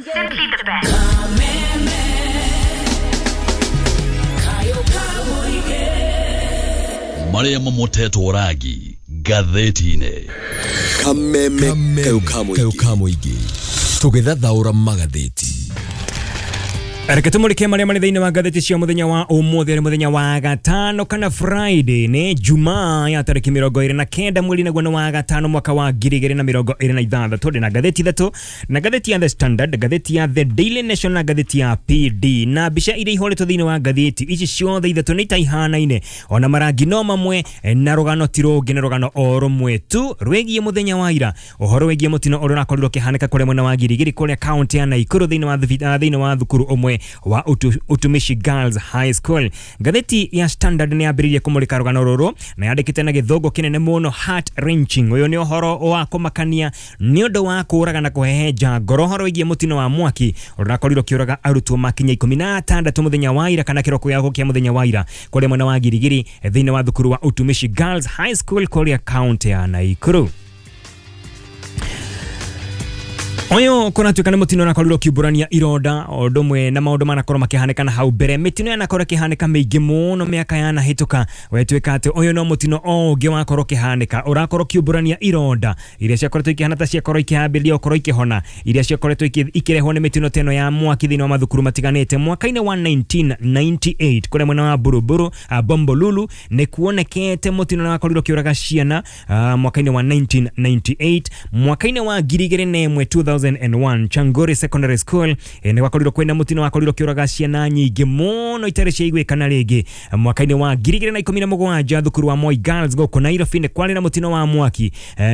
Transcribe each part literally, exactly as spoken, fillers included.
Simply the best. Marĩa mamotetwo rangi ngathĩti-inĩ. Kameme kayũ ka mũingĩ tũgĩthathaũra magathĩti. Reke tumulike marĩa marĩ thĩinĩ wa ngathĩti cia mũthenya wa ũmũthĩ, arĩ mũthenya wa gatano kana Friday, nĩ Jumaa ya tarĩki mĩrongo ĩrĩ na kenda mweri naguo nĩ wa gatano mwaka wa ngiri igĩrĩ na mĩrongo ĩrĩ na ithathatũ. Ndĩ na ngathĩti ithatũ, na ngathĩti ya The Standard, ngathĩti ya The Daily Nation na ngathĩti ya P D. Na mbica iria ihũrĩtwo thĩinĩ wa ngathĩti ici ciothe ithatũ nĩ ta ihanaine, ona marangi no mamwe, na rũgano ti rũngĩ, nĩ rũgano o rũmwe tu rwĩgiĩ mũthenya wa ira, ũhoro wĩgiĩ mũtino ũrĩa ũrakorirwo ũkĩhanĩka kũrĩa mwena wa Girigiri kũrĩa kaunti ya Nakuru thĩinĩ wa thĩinĩ wa thukuru ũmwe wa utu, Utumishi Girls High School. Ngathĩti ya Standard nĩ yambĩrĩirie kũmũrĩka rũgano rũrũ na yandĩkĩte na gĩthũngũ kĩnene mũno, heart wrenching. Ũyũ nĩ ũhoro wa kũmakania nĩ ũndũ wa kũũraga na kũhehenja ngoro, ũhoro wĩgiĩ mũtino wa mwaki ũrĩa ũrakorirwo ũkĩũraga arutwo makinya ikũmi na atandatũ mũthenya wa ira kana kĩroko gĩa gũkĩa mũthenya wa ira kũrĩa mwena wa Girigiri thĩinĩ wa thukuru wa Utumishi Girls High School kũrĩa kaunti ya Nakuru. Oyo kũratuĩka nĩ mũtino ũrakorirwo ũkiumbũrania ironda o ũndũ ũmwe na maũndũ manakorwo makĩhanĩka na hau mbere. Mĩtino yanakorwo ĩkĩhanĩka mĩingĩ mũno mĩaka yanahĩtũka, wetuĩka atĩ ũyũ no mũtino o ũngĩ wakorwo ũkĩhanĩka ũrakorwo ũkiumbũrania ironda iria ciakoretwo ikĩhana ta ciakorwo ikĩhambĩrĩria gũkorwo ikĩhona, iria ciakoretwo ikĩrehwo nĩ mĩtino ta ĩno ya mwaki thĩinĩ wa mathukuru matiganĩte. Mwaka-inĩ wa nineteen ninety-eight kũrĩa mwena wa Buruburu, Bombolulu, nĩ kuonekete mũtino ũrakorirwo ũkĩũraga ciana mwaka-inĩ wa nineteen ninety-eight. Mwaka-inĩ wa ngiri igĩrĩ na ĩmwe two thousand and one Changori Secondary School nĩ gwakorirwo kwĩna mũtino wakorirwo ũkĩũraga ciana nyingĩ mũno itarĩ ciaiguĩkana rĩngĩ. Mwaka-inĩ wa ngiri igĩrĩ na ikũmi na mũgwanja thukuru wa Moi Girls gũkũ Nairobi nĩ kwarĩ na mũtino wa mwaki,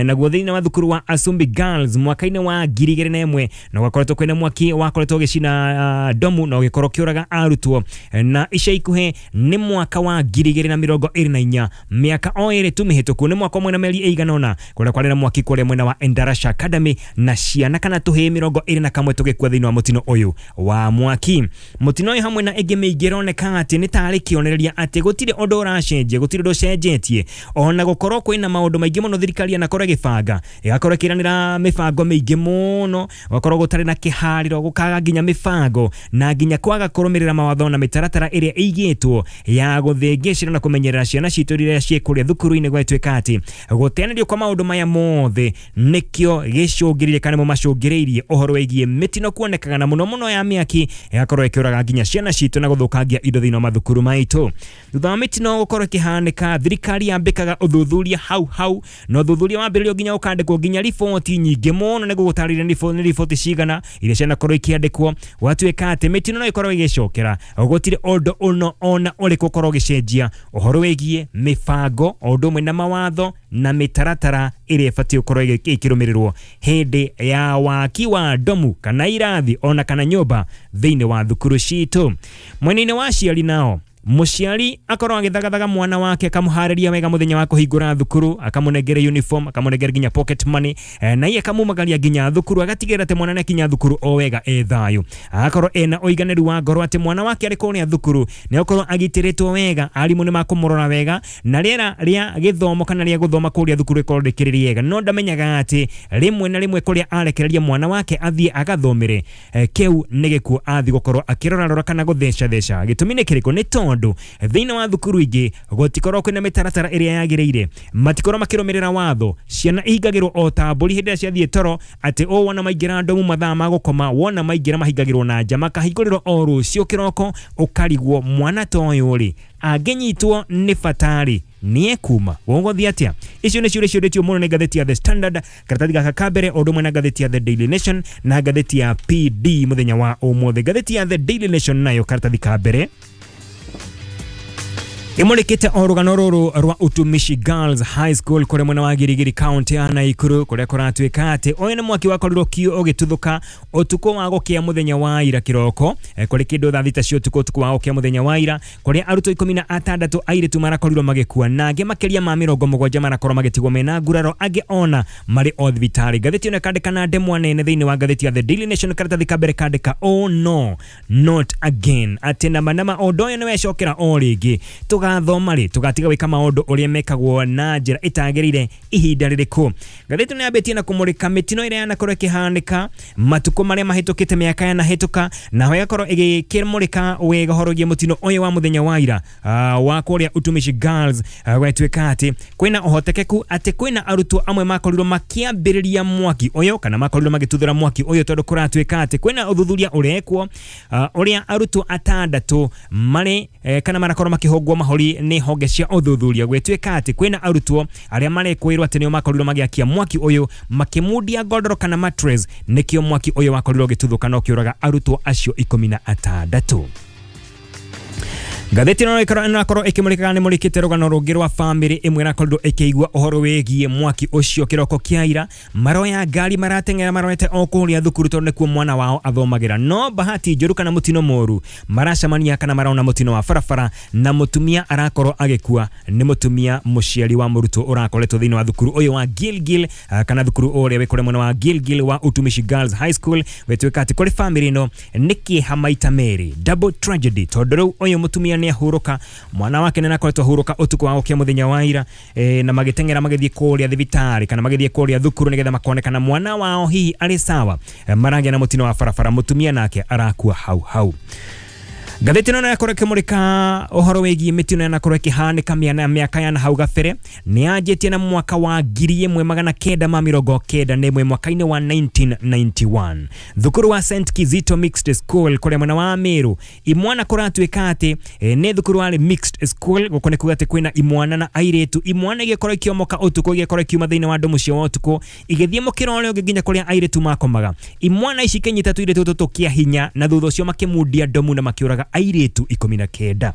naguo thĩinĩ wa thukuru wa Asumbi Girls mwaka-inĩ wa ngiri igĩrĩ na ĩmwe na gwakoretwo kwĩna mwaki wakoretwo ũgĩcina domu na ũgĩkorwo ũkĩũraga arutwo. Na ica ikuhĩ nĩ mwaka wa ngiri igĩrĩ na mĩrongo ĩrĩ na inya, mĩaka o ĩrĩ tu mĩhĩtũku, nĩ mwaka ũmwe na mĩeri ĩigana ũna kũrĩa kwarĩ na mwaki kũrĩa mwena wa Endarasha Academy na ciana kana tũhĩĩ mĩrongo ĩrĩ na kamwe tũgĩkua thĩinĩ wa mũtino ũyũ wa mwaki. Mũtino ũyũ hamwe na ĩngĩ mĩingĩ ĩroneka atĩ nĩ tarĩ kĩonereria atĩ gũtirĩ ũndũ ũracenjia, gũtirĩ ũndũ ũcenjetie, ona gũkorwo kwĩna maũndũ maingĩ mũno thirikari yanakorwo ĩgĩbanga, ĩgakorwo ĩkĩranĩra mĩbango mĩingĩ mũno, gũgakorwo gũtarĩ na kĩharĩro, gũkaga nginya mĩbango na nginya kwaga kũrũmĩrĩra mawatho na mĩtaratara ĩrĩa ĩigĩtwo ya gũthĩngĩcĩra na kũmenyerera ciana citũ rĩrĩa ciĩ kũrĩa thukuru-inĩ. Gwatuĩka atĩ gũteanĩrio kwa maũndũ maya mothe nĩkĩo gĩcũngĩrĩrie kana nĩmo macũngĩrĩirie ũhoro wĩgiĩ mĩtino kuonekaga na mũno mũno ya mĩaki ĩgakorwo ĩkĩũraga nginya ciana citũ na gũthũkangia indo thĩinĩ wa mathukuru maitũ. Thutha wa mĩtino gũkorwo ĩkĩhanĩka, thirikari yambĩkaga ũthuthuria hau hau, na ũthuthuria wambĩrĩrio nginya ũkandĩkwo nginya riboti nyingĩ mũno nĩguo gũtarĩria nĩ riboti cigana iria cianakorwo ikĩandĩkwo. Gwatuĩka atĩ mĩtino no ĩkorwo ĩgĩcokera, gũtirĩ ũndũ ũno ona ũrĩkũ ũkorwo ũgĩcenjia ũhoro wĩgiĩ mĩbango o ũndũ ũmwe na mawatho na mĩtaratara ĩrĩa ĩbatiĩ gũkorwo ĩkĩrũmĩrĩrwo hĩndĩ ya waki wa domu kana irathi ona kana nyũmba thĩinĩ wa thukuru citũ. Mwena-inĩ wa aciari nao, mũciari akorwo agĩthagathaga mwana wake akamũharĩria wega mũthenya wa kũhingũra thukuru, akamũnengere uniform, akamũnengere nginya pocket money, na iye akamumagaria nginya thukuru, agatigĩrĩra atĩ mwana nĩakinya thukuru o wega e thayũ, agakorwo ena ũiganĩru wa ngoro atĩ mwana wake arĩ kũrĩa thukuru nĩakorwo agitĩrĩtwo wega, arimũ nĩmakũmũrora wega, na rĩera rĩa gĩthomo kana rĩa gũthoma kũrĩa thukuru rĩkorwo rĩkĩrĩ rĩega. No ndamenyaga atĩ rĩmwe na rĩmwe kũrĩa arekereria mwana wake athiĩ agathomere, kĩu nĩ gĩkuo athiĩ gũkorwo akĩrorarora kana gũthecatheca. Gĩtũmi nĩ kĩrĩkũ? Nĩ tondũ thĩinĩ wa thukuru ingĩ gũtikorwo kwĩna mĩtaratara ĩrĩa yagĩrĩire, matikorwo makĩrũmĩrĩra watho, ciana ihingagĩrwo o ta mbũri hĩndĩ ĩrĩa ciathiĩ toro, atĩ o wona maingĩra ndomu mathaa ma gũkoma, wona maingĩra mahingagĩrwo na nja, makahingũrĩrwo o rũciũ kĩroko, ũkarigwo mwana ta ũyũ rĩ angĩnyitwo nĩ batarĩ nĩekuma gũgũthiĩ atĩa? Icio nĩ ciũria ciũrĩtio mũno nĩ ngathĩti ya The Standard, karatathi gaka ka mbere, o ũndũ ũmwe na ngathĩti ya The Daily Nation na ngathĩti ya P D mũthenya wa ũmũthĩ. Ngathĩti ya The Daily Nation nayo karatathi ka mbere ĩmũrĩkĩte o rũgano rũrũ rwa Utumishi Girls High School kũrĩa mwena wa Girigiri kaunti ya Nakuru, kũrĩa kũratuĩka atĩ ũyũ nĩ mwaki wakorirwo ũgĩtuthũka ũtukũ wa gũkĩa mũthenya wa ira kĩroko, kũrĩ kĩndũ thaa thita cia ũtukũ, ũtukũ wa gũkĩa mũthenya wa ira, kũrĩa arutwo ikũmi na atandatũ airĩtu marakorirwo magĩkua na angĩ makĩria ma mĩrongo mũgwanja marakorwo magĩtigwo mena nguraro, angĩ ona marĩ o thibitarĩ. Ngathĩti ĩno ĩkandĩka na ndemwa nene thĩinĩ wa ngathĩti ya The Daily Nation, karatathi ka mbere kandĩka oh no not again, atĩ nama nama ũndũ ũyũ nĩwecokera o rĩngĩ. Tũgathoma rĩ? Tũgatiga gwĩka maũndũ ũrĩa mekagwo na njĩra ĩtagĩrĩire ihinda rĩrĩkũ? Ngathĩti nĩ yambĩtie na kũmũrĩka mĩtino ĩrĩa yanakorwo ĩkĩhanĩka matukũ marĩa mahĩtũkĩte, mĩaka yanahĩtũka, naho ĩgakorwo ĩgĩkĩmũrĩka wega ũhoro wĩgiĩ mũtino ũyũ wa mũthenya wa ira uh, wa kũrĩa Utumishi Girls. uh, Gwatuĩka atĩ kwĩna ũhotekeku atĩ kwĩna arutwo amwe makorirwo makĩambĩrĩria mwaki ũyũ kana makorirwo magĩtuthũra mwaki ũyũ, tondũ kũratuĩka atĩ kwĩna ũthuthuria ũrekwo uh, ũrĩa arutwo atandatũ marĩ eh, kana marakorwo makĩhũngwo mahũri nĩ honge cia ũthuthuria. Gwĩtuĩka atĩ kwĩna arutwo arĩa marekwĩrwo atĩ nĩo makorirwo magĩakia mwaki ũyũ makĩmundia godoro kana mattress, nĩkĩo mwaki ũyũ wakorirwo ũgĩtuthũka na ũkĩũraga arutwo acio ikũmi na atandatũ. Ngathĩti ĩno ĩrakorwo ĩkĩmũrĩka nĩ mũrĩkĩte rũgano rũngĩ rwa bamĩrĩ ĩmwe ĩrakorirwo ĩkĩigua ũhoro wĩgiĩ mwaki ũcio kĩroko kĩa ira. Maroya ngari marateng'era marorete o kũrĩa thukuru tondũ nĩkuo mwana wao athomagĩra, no bahati njũru kana mũtino mũru maracemania kana marona mũtino wa barabara na mũtumia arakorwo agĩkua. Nĩ mũtumia mũciari wa mũrutwo ũrakoretwo thĩinĩ wa thukuru ũyũ wa Gilgil kana thukuru ũrĩa wĩ kũrĩa mwena wa Gilgil wa Utumishi Girls High School. Gwĩtuĩka atĩ kũrĩ bamĩrĩ ĩno nĩ kĩeha maita merĩ, double tragedy, tondũ rĩu ũyũ mũtumia nĩ ahurũka, mwana wake nĩ akoretwo ahurũka ũtukũ wa gũkĩa mũthenya wa ira, e, na magĩteng'era magĩthiĩ kũrĩa thibitarĩ kana magĩthiĩ kũrĩa thukuru nĩgetha makonekana mwana wao hihi arĩ sawa. E, maragĩa na mũtino wa barabara, mũtumia nake arakua hau hau. Ngathĩti ĩno yakorwo ĩkĩmũrĩka ũhoro wĩgiĩ mĩtino yanakorwo ĩkĩhanĩka mĩana mĩaka ya hau gabere. Nĩ yanjĩtie na mwaka wa ngiri ĩmwe magana kenda ma mĩrongo kenda na ĩmwe, mwaka-inĩ wa nineteen ninety-one, thukuru wa Saint Kizito Mixed School kũrĩa mwena wa Meru, imwana kũratuĩka atĩ e, nĩ thukuru warĩ mixed school. Gũkũ nĩ kuga atĩ kwĩna imwana na airĩtu. Imwana igĩkorwo ikĩomoka ũtukũ, igĩkorwo ikiuma thĩinĩ wa ndomu cia ũtukũ igĩthiĩ mũkĩra ũrĩa ũngĩ nginya kũrĩa airĩtu makomaga. Imwana ici ikĩnyita tũirĩtu tũtũ kĩa hinya na thutha ũcio makĩmundia ndomu na makĩũraga airĩtu ikũmi na kenda.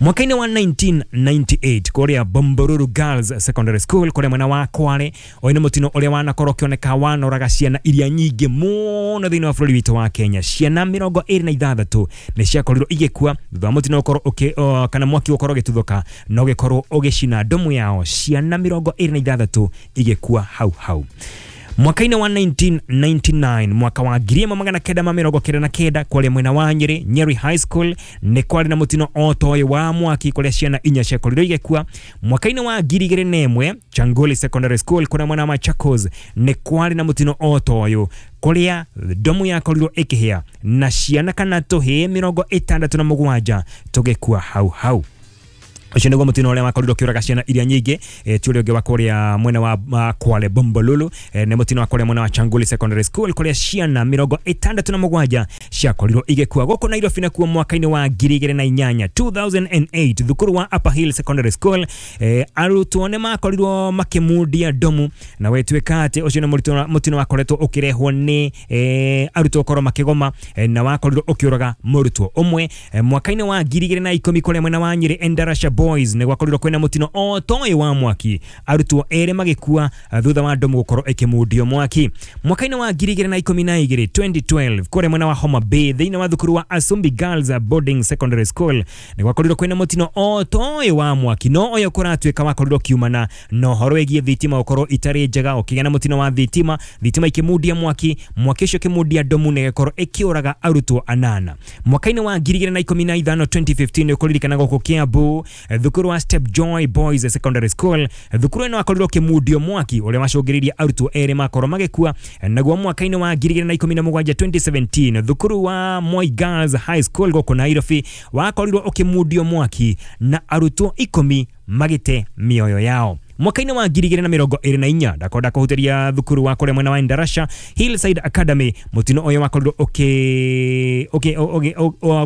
Mwaka-inĩ wa nineteen ninety-eight kũrĩa Bombolulu Girls Secondary School kũrĩa mwena wa Kwale, ũyũ nĩ mũtino ũrĩa wanakorwo ũkĩoneka wanoraga ciana iria nyingĩ mũno thĩinĩ wa bũrũri witũ wa Kenya. Ciana mĩrongo ĩrĩ na ithathatũ nĩ ciakorirwo igĩkua thutha wa mũtino ũkorwo ũkĩ kana mwaki ũkorwo ũgĩtuthũka na ũgĩkorwo ũgĩcina ndomu yao. Ciana mĩrongo ĩrĩ na ithathatũ igĩkua hau hau. Mwaka-inĩ wa nineteen ninety-nine, mwaka wa ngiri ĩmwe magana kenda ma mĩrongo kenda na kenda, kũrĩa mwena wa Nyeri, Nyeri High School, nĩ kwarĩ na mũtino o ta ũyũ wa mwaki kũrĩa ciana inya ciakorirwo igĩkua. Mwaka-inĩ wa ngiri igĩrĩ na ĩmwe, Changoli Secondary School kũrĩa mwena wa Machakos, nĩ kwarĩ na mũtino o ta ũyũ kũrĩa ndomu yakorirwo ĩkĩhĩa na ciana kana tũhĩĩ mĩrongo ĩtandatũ na mũgwanja tũgĩkua hau hau. Ũcio nĩguo mũtino ũrĩa wakorirwo ũkĩũraga ciana iria nyingĩ, e, ti ũrĩa ũngĩ wa kũrĩa mwena wa uh, Kwale Bombolulu, e, nĩ mũtino wa kũrĩa mwena wa Changoli Secondary School kũrĩa ciana mĩrongo ĩtandatũ na mũgwanja ciakorirwo igĩkua. Gũkũ Nairobi nakuo mwaka-inĩ wa ngiri igĩrĩ na inyanya, two thousand and eight, thukuru wa Upper Hill Secondary School, e, arutwo nĩ makorirwo makĩmundia ndomu na wetwĩka atĩ ũcio nĩ mũtino wakoretwo ũkĩrehwo nĩ e, arutwo gũkorwo makĩgoma, e, na wakorirwo ũkĩũraga mũrutwo ũmwe. E, mwaka-inĩ wa ngiri igĩrĩ na ikũmi kũrĩa mwena wa Nyeri Endarasha Boys nĩ gwakorirwo kwĩna mũtino o ta ũyũ wa mwaki, arutwo erĩ magĩkua thutha wa ndomu gũkorwo ĩkĩmundio mwaki. Mwaka-inĩ wa ngiri igĩrĩ na ikũmi na igĩrĩ, twenty twelve, kũrĩa mwena wa Homa Bay thĩinĩ wa thukuru wa Asumbi Girls Boarding Secondary School nĩ gwakorirwo kwĩna mũtino o ta ũyũ wa mwaki, no ũyũ kũratuĩka wakorirwo ũkiumana na ũhoro wĩgiĩ thitima gũkorwo itarĩ njega, ũkĩgĩa na mũtino wa thitima, thitima ikĩmundia mwaki, mwaki ũcio ũkĩmundia ndomu na ĩgĩkorwo ĩkĩũraga arutwo anana. Mwaka-inĩ wa ngiri igĩrĩ na ikũmi na ithano, twenty fifteen, ũkũririkana gũkũ Kiambu, thukuru wa Step Joy Boys Secondary School, thukuru ĩno wakorirwo ũkĩmundio mwaki ũrĩa wacũngĩrĩirie arutwo erĩ makorwo magĩkua. Naguo mwaka-inĩ wa ngiri igĩrĩ na ikũmi na mũgwanja, twenty seventeen, thukuru wa Moi Girls High School gũkũ Nairobi wakorirwo ũkĩmundio mwaki na arutwo ikũmi magĩte mĩoyo yao. Mwaka-inĩ wa ngiri igĩrĩ na mĩrongo ĩrĩ na inya, ndakonda kũhutĩria thukuru wa kũrĩa mwena wa Endarasha Hillside Academy, mũtino ũyũ wakorirwo ũkĩ ũkĩ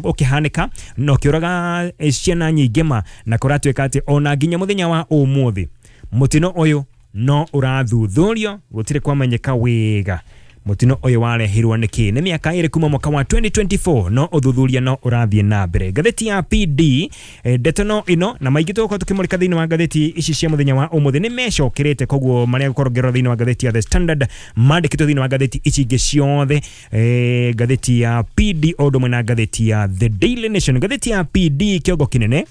ũkĩhanĩka na ũkĩũraga ciana nyingĩ ma, na kũratuĩka atĩ ona nginya mũthenya wa ũmũthĩ mũtino ũyũ no ũrathuthurio, gũtirĩ kwamenyeka wega mũtino ũyũ warehirwo nĩkĩ. Nĩ mĩaka ĩrĩ kuma mwaka wa twenty twenty-four, no ũthuthuria no ũrathiĩ na mbere. Ngathĩti ya P D, ndeto no ĩno na maingĩ tũgũkorwo tũkĩmũrĩka thĩinĩ wa ngathĩti ici cia mũthenya wa ũmũthĩ nĩ mecokerete, koguo marĩa gũkorwo ngĩrora thĩinĩ wa ngathĩti ya The Standard mandĩkĩtwo thĩinĩ wa ngathĩti ici ingĩ ciothe, e, ngathĩti ya P D o ũndũ ũmwe na ngathĩti ya The Daily Nation. Ngathĩti ya P D kĩongo kĩnene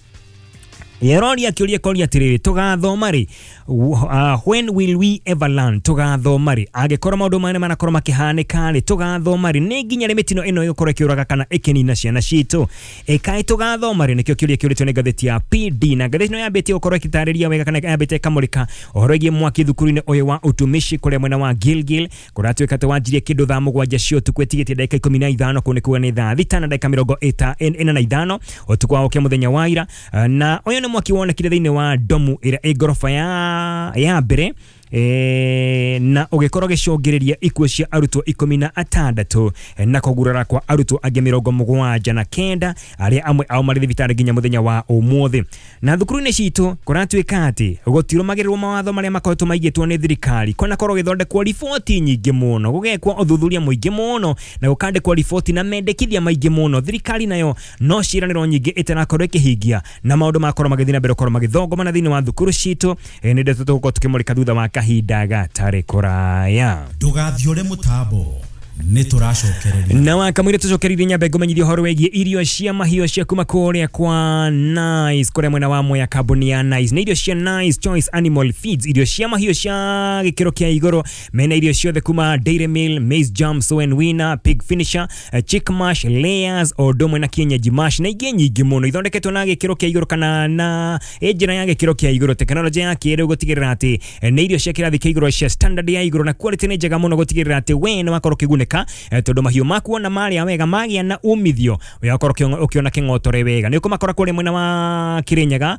Yeroria kĩũria koria atĩrĩrĩ, tũgathoma rĩ? uh, when will we ever learn? Tũgathoma rĩ? Angĩkorwo maũndũ maya manakorwo makĩhanĩka rĩ, tũgathoma rĩ? Nĩ nginya rĩ mĩtino ĩno ĩgũkorwo ĩkĩũraga kana ĩkĩnina ciana citũ? Ĩkaĩ tũgathoma rĩ? Nĩkĩo kĩũria kĩũrĩtio nĩ ngathĩti ya P D, na ngathĩti ĩno yambĩtie gũkorwo ĩgĩtarĩria wega kana yambĩte ĩkamũrĩka ũhoro wĩgiĩ mwaki thukuru-inĩ ũyũ wa utumishi kũrĩa mwena wa Gilgil, kũratuĩka atĩ wanjirie kĩndũ thaa mũgwanja cia ũtukũ ĩtigĩtie ndagĩka ikũmi na ithano, kũu nĩ kuga nĩ thaa thita na ndagĩka mĩrongo ĩna na ithano ũtukũ wa ũkĩa mũthenya wa ira. Na ũyũ nĩ mwaki wonekire thĩinĩ wa domu ĩrĩa ĩ ngoroba ya ya mbere, e, na ũgĩkorwo gĩcũngĩrĩria ikuũ cia arutwo ikũmi na atandatũ na kũgurara kwa arutwo angĩ mĩrongo mũgwanja na kenda arĩa amwe ao marĩ thibitarĩ nginya mũthenya wa ũmũthĩ. Na thukuru-inĩ citũ kũratuĩka atĩ gũtirũmagĩrĩrwo mawatho marĩa makoretwo maigĩtwo nĩ thirikari, kwanakorwo gĩthondekwo riboti nyingĩ mũno, gũgekwo ũthuthuria mũingĩ mũno na gũkandĩkwo riboti na mendekithia maingĩ mũno. Thirikari nayo no ciĩranĩro nyingĩ ĩtarakorwo ĩkĩhingia na maũndũ makorwo magĩthiĩ na mbere gũkorwo magĩthongomana thĩinĩ wa thukuru citũ. Nĩ ndeto tũgũkorwo tũkĩmũrĩka thutha wa kahinda gatarĩ kũraya. Ndũgathiũre mũtambo, nĩ tũracokereria. Na wakamwire tũcokereirie nyambe ngũmenyithia ũhoro wĩgiĩ irio cia mahiũ cia kuma kũrĩa kwa Nice, kũrĩa mwena wa Mwea, kambuni ya Nice. Nĩ irio cia Nice Choice Animal Feeds, irio cia mahiũ cia gĩkĩro kĩa igũrũ. Mena irio ciothe kuma Dairy Meal, Maize Jam, Sow and Winner, Pig Finisher, Chick Mash, Layers, o ũndũ ũmwe na kienyeji mash na ingĩ nyingĩ mũno, ithondeketwo na gĩkĩro kĩa igũrũ kana na njĩra ya gĩkĩro kĩa igũrũ, tekinoronjĩ ya kĩrĩu gũtigĩrĩra atĩ nĩ irio cia kĩrathi kĩa igũrũ cia standard ya igũrũ na quality nĩ njega mũno, gũtigĩrĩra atĩ we nĩ wakorwo ũkĩgunĩka tondũ mahiũ maku ona marĩa wega magĩa na umithio ũgakorwo ũkĩona kĩng'otore wega. Nĩ ũkũmakora kũrĩa mwena wa Kirinyaga,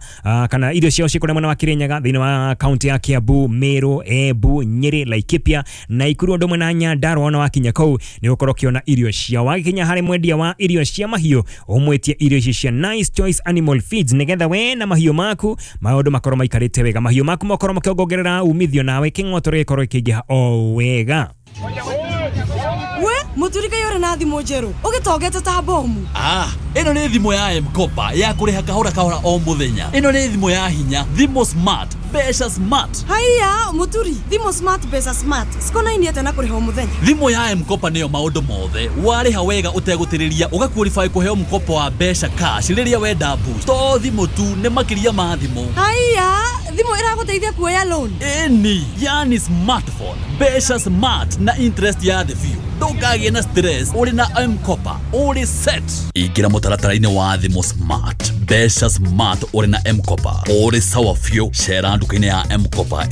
kana irio ciao ciĩ kũrĩa mwena wa Kirinyaga thĩinĩ wa kaunti ya Kiambu, Meru, Embu, Nyĩrĩ, Laikipia, Naikuru ũndũ ũmwe na Nyandarua. Ona wakinya kũu nĩ ũgũkorwo ũkĩona irio ciao. Wakinya harĩ mwendia wa irio cia mahiũ ũmwĩtie irio ici cia Nice Choice Animal Feeds nĩgetha we na mahiũ maku maũndũ makorwo maikarĩte wega, mahiũ maku makorwo makĩongerera umithio nawe kĩng'otore gĩkorwo gĩkĩingĩha o wega. We muturika yore na thimũ njerũ ũgĩtongete ta bomu. Ah, ĩno nĩ thimũ ya M-Kopa ya kũrĩha kahora kahora o mũthenya. Ĩno nĩ thimũ ya hinya, thimũ smart, mbeca smart. Haiya muturi, thimũ smart, mbeca smart cikonainie atĩa na kũrĩha o mũthenya? Thimũ ya M-Kopa nĩyo maũndũ mothe. Warĩha wega ũtegũtĩrĩria ũgaqualify kũheo mkopo wa mbeca cash rĩrĩa wenda boost. To thimũ tu, nĩ makĩria ma thimũ. Haiya, thimũ ĩragũteithia kuoya loan? Ĩni, yani smartphone, mbeca smart na interest ya thĩ biũ. Ndũkagĩe na stress, ũrĩ na M-Kopa, ũrĩ set. Ingĩra mũtaratara-inĩ wa thimũ smart, mbeca smart ũrĩ na M-Kopa, ũrĩ sawa biũ. Cera nduka-inĩ ya M-Kopa.